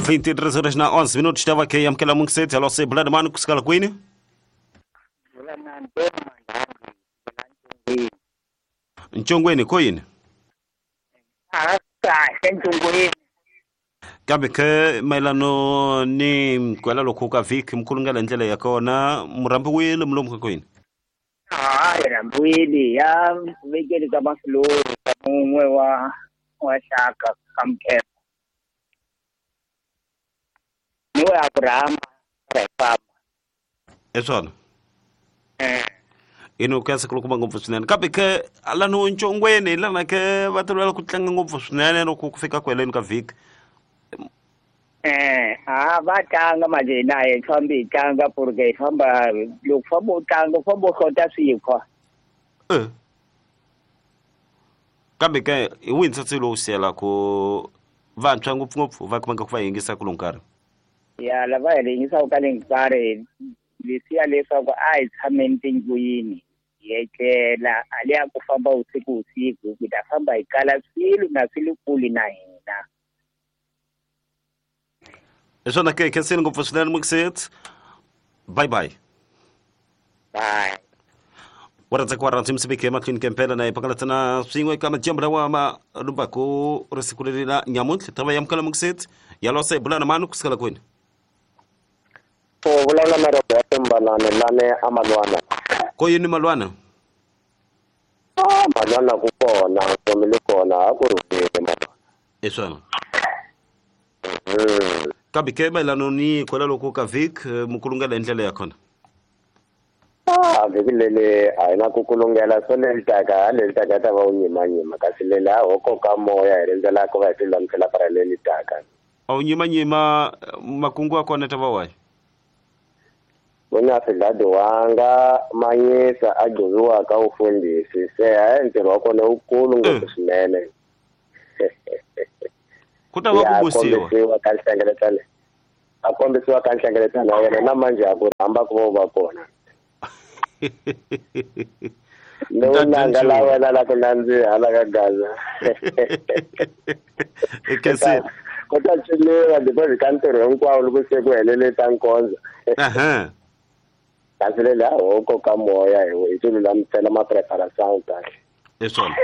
23 horas na 11 minutos tava ke yamkela mungiseti alo se bulana mani kusikala kwini Nchongweni koyini kambe ke mayelano ni kwela lokhu ka vhiki mkhulungela ndlela ya kona murhambiwile mlomu ka kwini rhambiwile ya vekeli ka mafilori mun'we wa xaka ka Mkhepha ni we Abrahama ra hi famba hi swona ino ku ya siku loko ngopfu swinene kambe ke lano Nchongweni lana ke va tolovela ku tlanga ngopfu swinene loko ku fika ku heleni ka vhiki va tlanga manje hina hi fambi hi tlanga porque hi famba loko famba u tlanga u famba u hlota swikhwa kambe ke hi wihi ntsatsi lowu siyelaku vantshwa ngopfungopfu va kumeka ku va yingisa ku nkarhi ya lava hi yingisaka ka le nkarhi leswiya leswaku a hi tshameni tindlwini hi etlela a le ya ku famba usiku usiku ku ta famba hi kala swilo na swi le kule na hina hi swona ke khenseni ngopfu swinene mukiseti bye bye bye wa rhandza misiviki emahlweni kempela na hi phakalatsana swin'we ka madyambu lawa ma lumbaku ri siku leri la nyamuntlha tava yamukela mukiseti yalosa hi bulana mani kusukela kwini u vulavula na Roberto Mbalane lane a Malwana ko yini Malwana Malwana ku kona nkomi le kona a ku rhulile Malwana hi swona kambe ke mayelano ni kwela loko ka vhiki mukulungela hi ndlela ya kona vhiki leli a hi na ku kulungela swo leri taka leri taka ta va wu nyimanyima kasi leli a ho koka moya hi rindzela ku va hi tilulamisela para leri taka a wu nyimanyima makungu ya kona ta va wahi vona swidladiwanga manyisa a gcoviwaka ufundhisi se hayi ntirho wa kona wukulu ngopfu swinene ku ta va ku busiwa ka nhlengeletano a kombisiwa ka nhlengeletano ya yena na manje a ku rhamba ku va va kona lowu nanga la wena la ku nandziha la ka Gaza ku ta ciniwa because ka ntirho hinkwawo loko se ku helele ta nkondzo kasi leli a ho koka moya hi tilulamisela ma-preparation kahle hi swona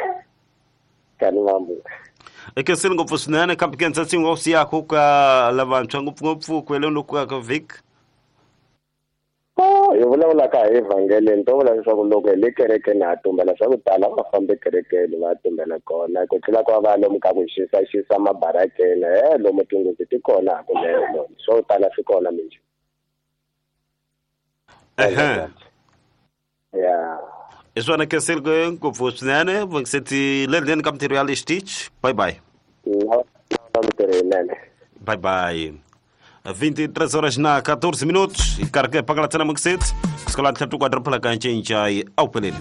kani vambu ekhenseni ngopfu swinene kambe ke ntsatsingo wa siyaku ka lavantshwa ngopfungopfu ku heleni loku ka vhiki hi vulavulaka hi evhangeleni to vula leswaku loko hi le kerekeni ha tumbela swa ku tala va fambi kerekeni va tumbela kona ku tlula ku va lomu ka ku xisa mabarakeni lomu tinghozi ti kona hakunene lomu swo tala swi kona minjhe ya hi swona khenseni ngopfu swinene vungiseti lendleni ka mintirho ya le xitichi bye bye mintirho yinene bye bye 23 horas na 14 minutos e carga para a cena muito cedo. Se calhar, tu quadro pela cancha em Jai ao Pelene.